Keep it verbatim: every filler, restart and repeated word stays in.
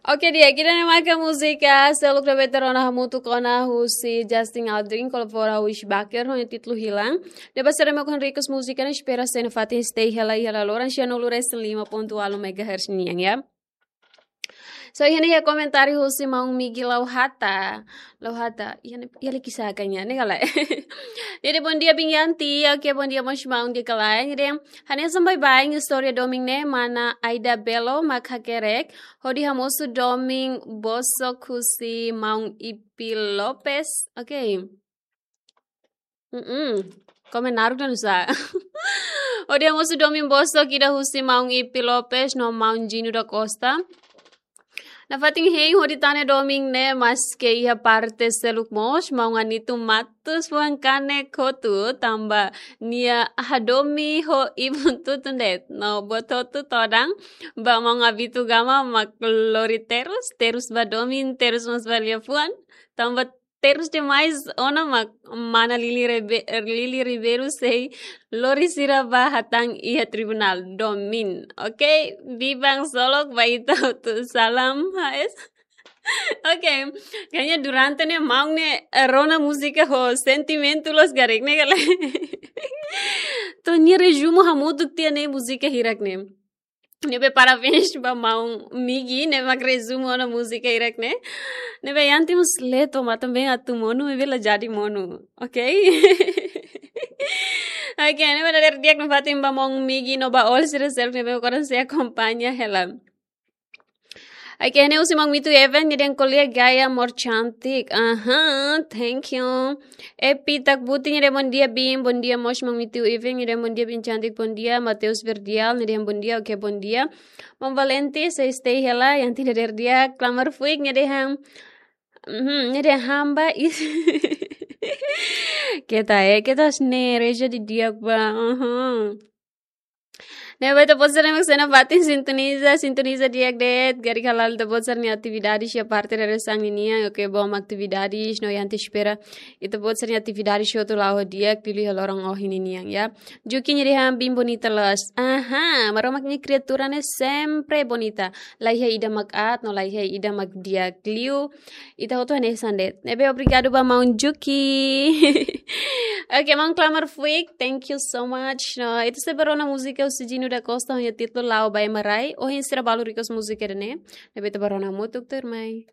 Oke, di'ak, ida-ne'e maka múzika seluk ne'ebé ita rona hamutuk ona husi Justin Aldrin, kolabora ho Wish Baker, ho títulu Hilang. Ne'ebé sira mós request múzika ne'e, espera se nafatin stay hela iha laloran sianulu resin lima pontu ualu megahertz nian, ya. So, iha ne'e iha komentáriu husi maun Migi Lauhata. Lauhata, iha ne'e, iha liki saka nia, ne'e ka lae. Jadi, bondia biin Yanti, oke, bondia mós maun di'ak ka lae. Jadi, hanesan baibain istória domin ne'e, mana Aida Belo mak hakerek hodi hamosu domin bosok husi maun Ipi Lopes. Oke. Mm-mm. Komen naruk dan sa. Hodi hamosu domin bosok ida husi maun Ipi Lopes no maun Jinu da Costa. Nafatin hein hodi tane domin ne'e, maske iha parte seluk mós maun Anitu Matus fuan kanek hotu, tanba nia hadomi ho ibun tutun de'it. No buat hotu todan ba maun Abitu Gama mak lori terus, terus ba domin, terus mós ba liafuan. Tanba terus demais ona mak mana Lili Rebe-, Lili Ribeiro sei lori sira ba hatán iha tribunál domin. Oke, biban solok ba ita hotu, salam H S. Oke, kayaknya durante ne'e maun ne'e, eh, rona múzika ho sentimentu loos karik ne'e ka lae. To'o nia rezumu hamutuk tiha ne'e múzika hirak ne'e. Ne'ebé parabéns ba maun Migi, ne'e mak rezumu ona múzika hirak ne'e. Ne'ebé Yanti mós leet, maibé atu monu, maibé la jadi monu. Oke? Oke, ne'ebé dadeer di'ak nafatin ba maun Migi no ba all sira seluk ne'ebé koran sei akompaña hela. Oke, ne'e husi maun Mitu Event, nia dehan ko'alia gaya amor cantik. Aha, thank you. Epi Takbuti, nia dehan bondia biin, bondia mós maun Mitu Event, nia dehan bondia biin cantik, bondia. Mateus Verdial, nia dehan bondia, oke, bondia. Maun Valente, sei stay hela, Yanti dadeer di'ak. Klamar Fuik, nia dehan, mhm, nia dehan hamba is. Keta, eh, keta sne, reja di di'ak ba, aha. Ne'ebé ita-boot sira ne'ebé sei nafatin sintoniza, sintoniza di'ak de'it, karik hala'o ita-boot sira-nia atividades iha parte dadeer-saan ninian, oke, bom atividades, no Yanti espera ita-boot sira-nia atividades hotu la'o ho di'ak, liuliu iha loron ohin ninian, ya. Juki nia dehan biin bonita loos. Aha, Maromak nia kriatura ne'e sempre bonita. La iha ida mak aat, no la iha ida mak di'ak liu. Ita hotu hanesan de'it. Ne'ebé obrigadu ba maun Juki. Oke, maun Klamar Fuik, thank you so much. No, ita sei bá rona múzika husi Jinu da Costa, ho nia títulu La'o ba Ema Rai. Ohin sira balu request múzika ida-ne'e. Ne'ebé ita bá rona hamutuk tuirmai.